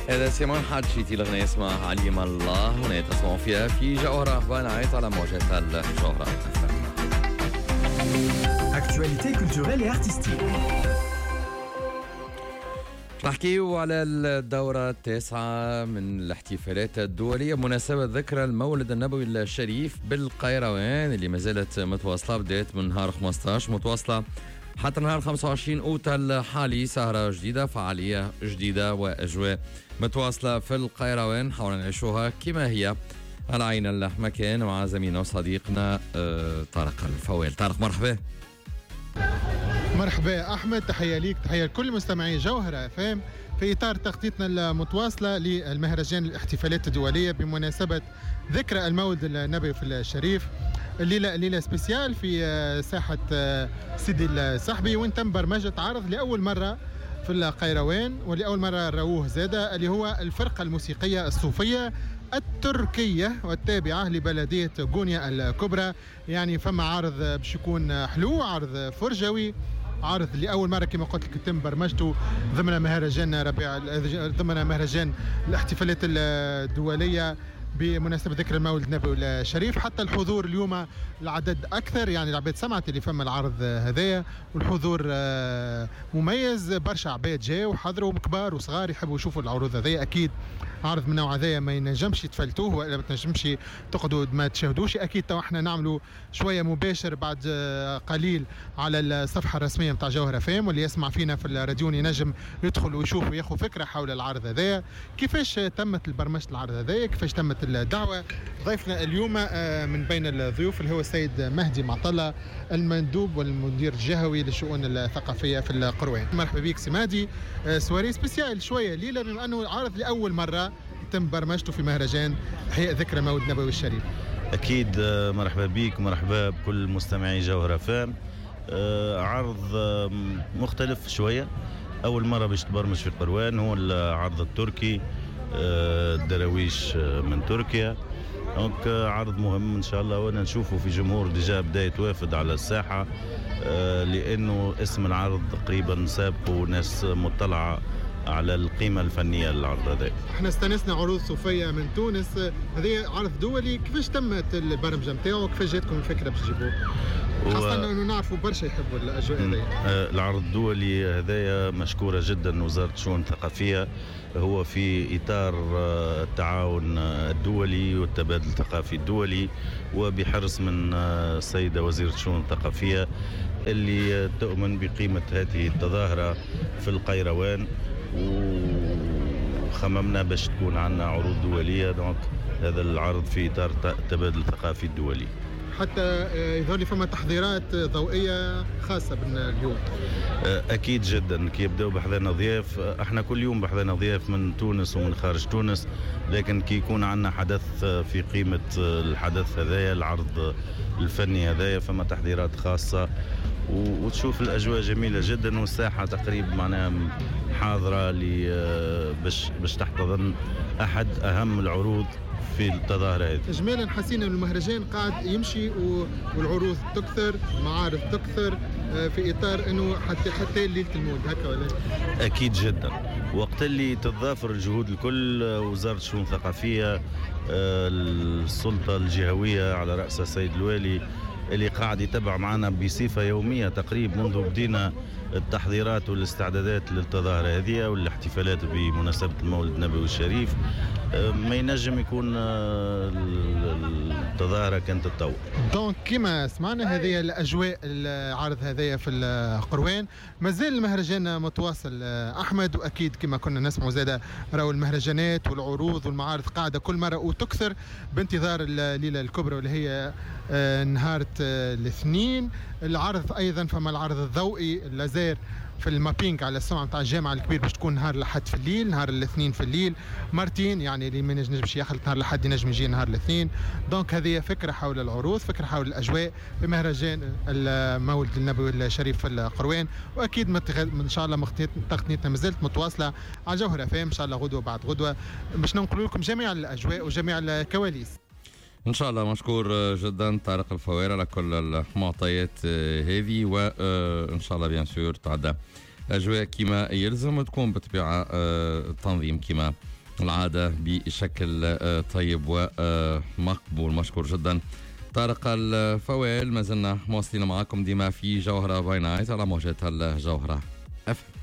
هذا سيمون حاجيتي، الأغنية اسمها عليم الله، هنا تسمعوا فيها في جوهرة بنعيط على موجات الجوهرة. Actualité culturelle et artistique. نحكيو على الدورة التاسعة من الاحتفالات الدولية بمناسبة ذكرى المولد النبوي الشريف بالقيروان اللي ما زالت متواصلة، بدأت من نهار 15 متواصلة حتى نهار 25 أوت الحالي. سهرة جديدة، فعالية جديدة وأجواء متواصلة في القيروان، حاولنا نعيشوها كما هي على عين المكان مع زميلنا وصديقنا طارق الفوال. طارق مرحبا. مرحبا أحمد، تحية ليك، تحية لكل مستمعي جوهرة FM. في إطار تغطيتنا المتواصلة للمهرجان الاحتفالات الدولية بمناسبة ذكرى المولد النبوي في الشريف، الليلة ليلة spéciale في ساحة سيدي الصحبي، وين تم برمجة عرض لأول مرة في القيروان ولأول مرة رووه زادة، اللي هو الفرقة الموسيقية الصوفية التركية والتابعة لبلدية غونيا الكبرى. يعني فما عرض باش يكون حلو، عرض فرجوي، عرض لأول مرة كما قلت لك تم برمجته ضمن مهرجان ربيع، ضمن مهرجان الاحتفالات الدولية بمناسبة ذكرى المولد النبوي الشريف. حتى الحضور اليوم العدد أكثر، يعني العباد سمعت اللي فما العرض هذايا والحضور مميز، برشا عباد جاوا وحضروا، كبار وصغار يحبوا يشوفوا العروض هذايا. أكيد عرض من النوع هذايا ما ينجمش يتفلتوه ولا ما تنجمش تقعدوا ما تشاهدوش. أكيد تو احنا نعملوا شوية مباشر بعد قليل على الصفحة الرسمية نتاع جوهرة FM، واللي يسمع فينا في الراديو ينجم يدخل ويشوف وياخذ فكرة حول العرض هذايا، كيفاش تمت البرمجة العرض هذايا، كيفاش تمت الدعوة. ضيفنا اليوم من بين الضيوف اللي هو السيد مهدي معطلة، المندوب والمدير الجهوي للشؤون الثقافية في القروان. مرحبا بك سي مهدي. soirée spéciale شوية ليلة، بما أنه عرض لأول مرة تم برمجته في مهرجان إحياء ذكرى مولد النبوي الشريف. أكيد، مرحبا بك ومرحبا بكل مستمعي جوهرة FM. عرض مختلف شوية، أول مرة باش تبرمج في القروان، هو العرض التركي، الدراويش من تركيا. donc عرض مهم إن شاء الله، وأنا نشوفه في جمهور déjà بدا يتوافد على الساحة، لأنه اسم العرض تقريبا سابقه وناس مطلعة على القيمة الفنية للعرض هذا. احنا استانسنا عروض صوفية من تونس، هذا عرض دولي، كيفاش تمت البرمجة نتاعو؟ كيفاش جاتكم الفكرة باش تجيبوه؟ خاصة انه نعرفوا برشا يحبوا الأجواء هذيا. العرض الدولي هذايا مشكورة جدا وزارة الشؤون الثقافية، هو في إطار التعاون الدولي والتبادل الثقافي الدولي، وبحرص من السيدة وزيرة الشؤون الثقافية اللي تؤمن بقيمة هذه التظاهرة في القيروان، وخممنا باش تكون عندنا عروض دولية. donc هذا العرض في إطار التبادل الثقافي الدولي. حتى يظهر لي فما تحضيرات ضوئية خاصة باليوم. أكيد جدا، كي يبداو بحذانا ضياف، احنا كل يوم بحذانا ضياف من تونس ومن خارج تونس، لكن كي يكون عندنا حدث في قيمة الحدث هذايا، العرض الفني هذايا، فما تحضيرات خاصة، وتشوف الأجواء جميلة جدا، والساحة تقريبا حاضرة باش تحتضن أحد أهم العروض في التظاهرة هذه. إجمالا حسينا أن المهرجان قاعد يمشي والعروض تكثر، المعارض تكثر، في إطار أنه حتى ليلة المولد هكا ولا؟ أكيد جدا، وقت اللي تتضافر الجهود الكل، وزارة الشؤون الثقافية، السلطة الجهوية على رأس السيد الوالي اللي قاعد يتبع معنا بصفة يومية تقريبا منذ بدينا التحضيرات والاستعدادات للتظاهرة هذه والاحتفالات بمناسبة المولد النبوي الشريف، ما ينجم يكون التظاهرة كانت تتطور. donc كما سمعنا هذه الأجواء العرض هذايا في القروان، مازال المهرجان متواصل أحمد، وأكيد كما كنا نسمع زادة راهو المهرجانات والعروض والمعارض قاعدة كل مرة وتكثر بانتظار الليلة الكبرى واللي هي نهار الاثنين. العرض أيضا فما العرض الضوئي اللازير في ال mapping على السمعة نتاع الجامعة الكبير باش تكون نهار الأحد في الليل، نهار الاثنين في الليل مرتين، يعني اللي ما ينجمش ياخذ نهار الأحد ينجم يجي نهار الاثنين. donc هذه فكرة حول العروض، فكرة حول الأجواء في مهرجان المولد النبوي الشريف في القروان، وأكيد إن شاء الله تغطيتنا مازالت متواصلة على جوهرة FM إن شاء الله غدوة بعد غدوة باش ننقل لكم جميع الأجواء وجميع الكواليس إن شاء الله. مشكور جدا طارق الفوير على كل المعطيات هذه، وإن شاء الله bien sûr تعدى الاجواء كما يلزم، تكون بالطبيعة التنظيم كما العادة بشكل طيب ومقبول. مشكور جدا طارق الفوال. ما زلنا مواصلين معاكم ديما في جوهرة by night على موجات الجوهرة FM.